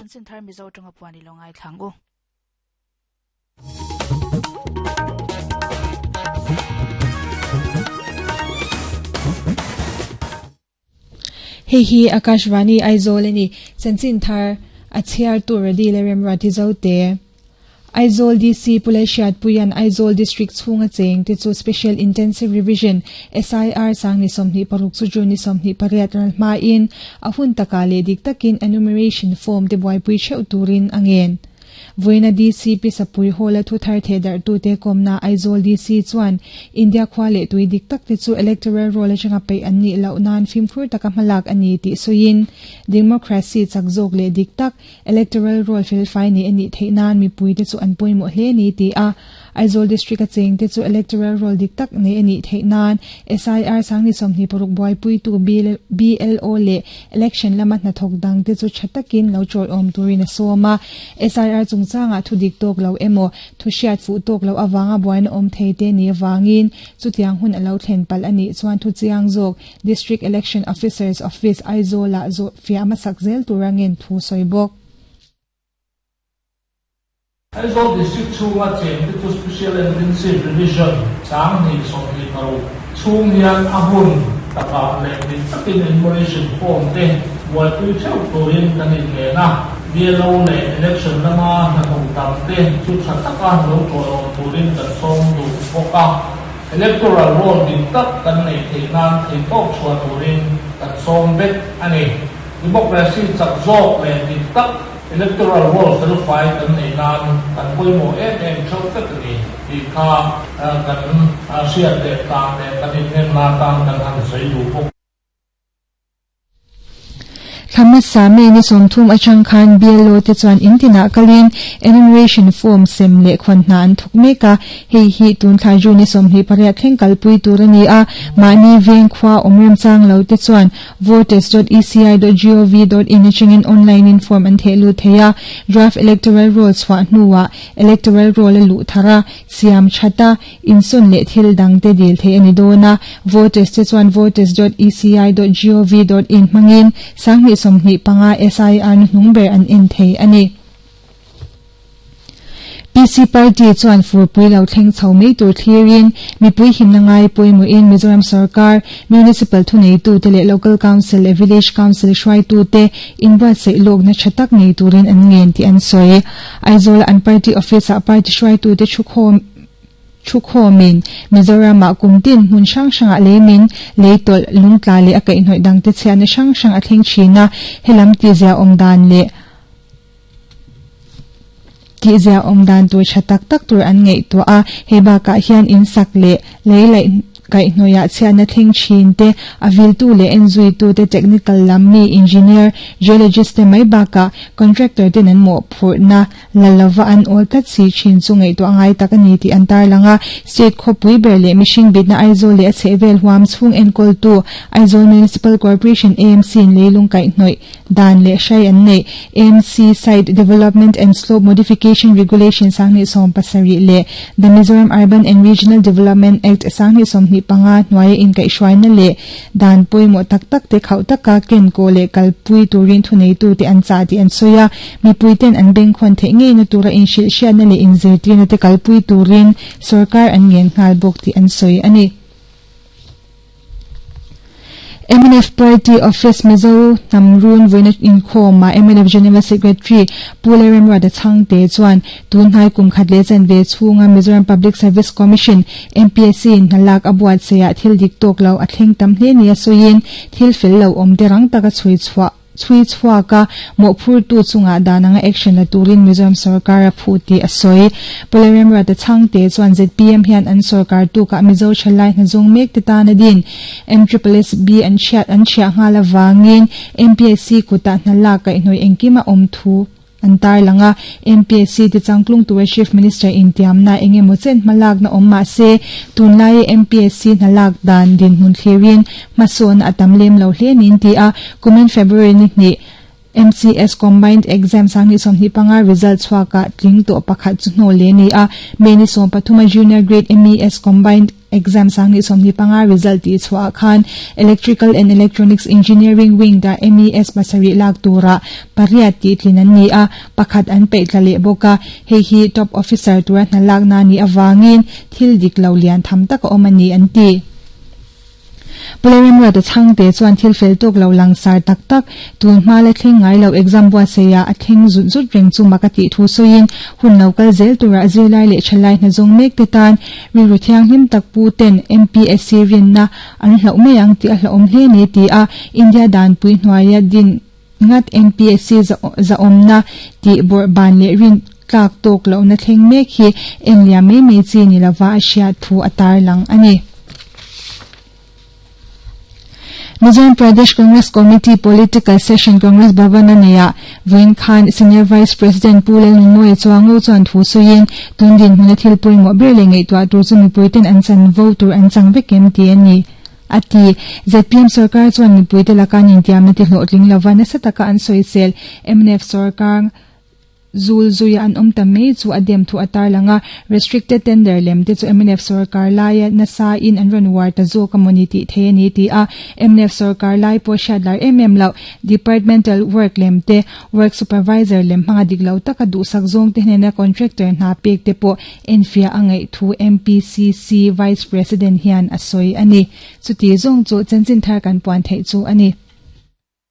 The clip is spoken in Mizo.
Chanchin thar Mizo tanga puan i lo ngaithla ang u. Hei hi Akashvani Aizawl a ni. Chanchin thar a chhiartu Radi leh Remruati Zote. Aizawl DC Pu Lalhriatpuia'n Aizawl District chhunga cheng te chu Special Intensive Revision, SIR, Sangni 26 chu June ni 28 ral hmain a hun takah leh dik takin enumeration form te buaipui theuh turin a ngen. Vawiina DC Pi Sapui Hall-a thu thar thehdarhtute kawmna Aizawl DC chuan India khua leh tui dik tak te chu electoral roll atanga peih an nih loh nan fimkhur taka hmalak a ni tih sawiin democracy chak zawk leh dik tak electoral roll felfai nei a nih theih nan mipuite chu an pawimawh hle ni ti a Aizawl District-a chengte chu electoral roll dik tak nei a nih theih nan SIR Sangni 26 buaipuitu BLO leh Election lama hnathawk dangte chu tha takin lo chawiawm turin a sawm a. SIR chungchangah thu dik tawk lo emaw, thu hriat fuh tawk loh avanga buaina awm thei te ni avangin chutiang hun a lo thlen palh a nih chuan thu chiang zawk District Election Officer's Office, Aizawl-ah zawh fiah hmasak zel tura ngen thu sawi bawk. Aizawl District chhunga chengte chu Special Intensive Revision 2026 chhung hian a hun takah leh dik takin enumeration form te buaipui theuh turin kan inngen a, BLO leh election lama hnathawk dangte chu tha taka lo tawlawm turin kan sawm duh bawk a, electoral roll dik tak kan neih theih nan theihtawp chhuah turin kan sawm vek a ni. Democracy chak zawk leh dik tak Electoral roll felfai kan neih nan kan pawimawh em em theuh vek a ni tih kha kan hriat leh tan leh kan inenna atan kan han sawi duh bawk. Thla hmasa May ni 30 atang khan BLO te chuan in tinah kalin enumeration form sem leh khawn hna an thawk mek a, Hei hi tun thla June ni 28 thleng kalpui tur a ni a, mahni veng khua awm remchang lo te chuan voters dot eci dot gov dot in atangin online in form an theh lut thei a, draft electoral roll chhuah hnuah electoral roll a luh thar a, siam that a, insawn leh thil dang te dil theih a ni dawn a, voters te chuan voters dot eci dot gov dot in hmangin 2025 SIR hnuhnung ber an en thei a ni. PC Party chuan furpui lo thleng chho mai tur thlirin mipui himna ngai pawimawhin Mizoram sorkar, Municipal thuneitute leh Local Council leh Village Council hruaitute inbuatsaih lawkna tha tak nei turin an ngen tih an sawi. Aizawla an party office-ah party hruaitute thukhawm thukhawmin Mizoramah kum tin hmun hrang hrangah leimin, leitawlh, lungtla leh a kaihhnawih dangte chhiatna hrang hrang a thleng thin a, helam tihzia awm dan leh Tihzia awm dan tur tha tak tak tur an ngaihtuah a, hei bakah hian in sak leh lei laih kaihhnawihah chhiatna thleng thin te, a viltu leh enzuitu te, technical lam mi, engineer, geologist te mai bakah contractor ten an mawhphurhna la lova an awl tlat si thin chu ngaihtuah ngai tak a ni tih an tarlang a. State khawpui ber leh mihring bitna Aizawl leh a chhehvel huam chhung enkawltu Aizawl Municipal Corporation, AMC, in leilung kaihhnawih Dan leh hrai an neih. AMC Site Development and Slope Modification Regulation 2017 leh The Mizoram Urban and Regional Development Act 2025 hnuaia inkaihhruaina leh dan pawimawh tak tak te khauh taka ken kawh leh kalpui turin thuneitute an chah tih an sawi a. Mipuiten an bengkhawn theih ngeina tura inhrilhhriatna leh inzirtirna te kalpui turin sorkar an ngen nghal bawk tih an sawi a ni. Mnf Party Office Mizo hnam run vawiina inkhawmah mnf General Secretary Pu Lalremruata Chhangte chuan tun hnai kum khat leh chanve chhunga Mizoram Public Service Commission, MPSC, in hna lak a buatsaihah thil dik tawk lo a thleng tam hle nia sawiin thil fel lo awm te rang taka chhui chhuah Chhui chhuak a, mawhphurtu chungah dan anga action la turin Mizoram sorkar a phuh tih a sawi. Pu Lalremruata Chhangte chuan zpm hian an sorkar tukah Mizo thalai hnazawng mek te tan a din. MSSB an chhiat an chhiah nghal avangin MPSC kutah hna lak kaihhnawih engkim a awm thu an tarlang a. MPSC ti changtlung tura Chief Minister intiamna eng emaw chen hmalakna awm mah se, tunlaia MPSC hna lak dan dinhmun thlirin hmasawnna a tam lem lo hle niin ti a, kumin February ni hnih MCS Combined Exam 2025 result chhuakah tling tawh pakhat chu hnawl leh a ni a. May ni 13 a Junior Grade MES Combined Exam 2025 result tih chhuahah khan Electrical and Electronics Engineering Wing dah MES pasarih lak turah pariat tih tlin an ni a, pakhat an peih tla leh bawk a. Hei hi Top Officer tura hna lakna a nih avangin thil dik lo lian tham tak a awm a ni an ti. Pu Lalremruata Chhangte chuan thil fel tawk lo langsar tak tak, tun hma la thleng ngai lo exam buatsaihah a thleng zut zut reng chu mak a tih thu sawiin hun lo kal zel turah zirlai leh thalai hna zawng mek te tan rilru thianghlim tak pu ten MPSC rinna an hlauh mai ang tih a hlauhawm hle ni ti a India danpui hnuaia din ngat MPSC zahawmna tih bawrh ban leh rin tlak tawk lohna thleng mek hi enliam mai mai chi ni lova a hriat thu a tarlang a ni. Mizoram Pradesh Congress Committee Political Session Congress Bhavan a neihah vawiin khan Senior Vice President Pu Lalnunmawia Chuango chuan thu sawiin tun dinhmuna thil pawimawh ber leh ngaihtuah tur chu mipuiten an chanvo tur an chang vek em tih a ni. A ti. Zpm sorkar chuan mipuite laka an intiamna ti hlawhtling lova nasa taka an sawisel mnf sorkar zul zuia an awm ta mai chu a dem thu a tarlang a. Restricted tender lem te chu mnf sorkar laia nasa in an rawn uar ta zawk a mawni tih thei a ni ti a. Mnf sorkar lai pawh hriat lar em em loh departmental work lem te, work supervisor lem hmanga dik lo taka duhsak zawng te hnena contractor hna pek te pawh Enfiah a ngaih thu MPCC Vice President hian a sawi a ni. Chuti zawng chu chanchin thar kan puan theih chu a ni.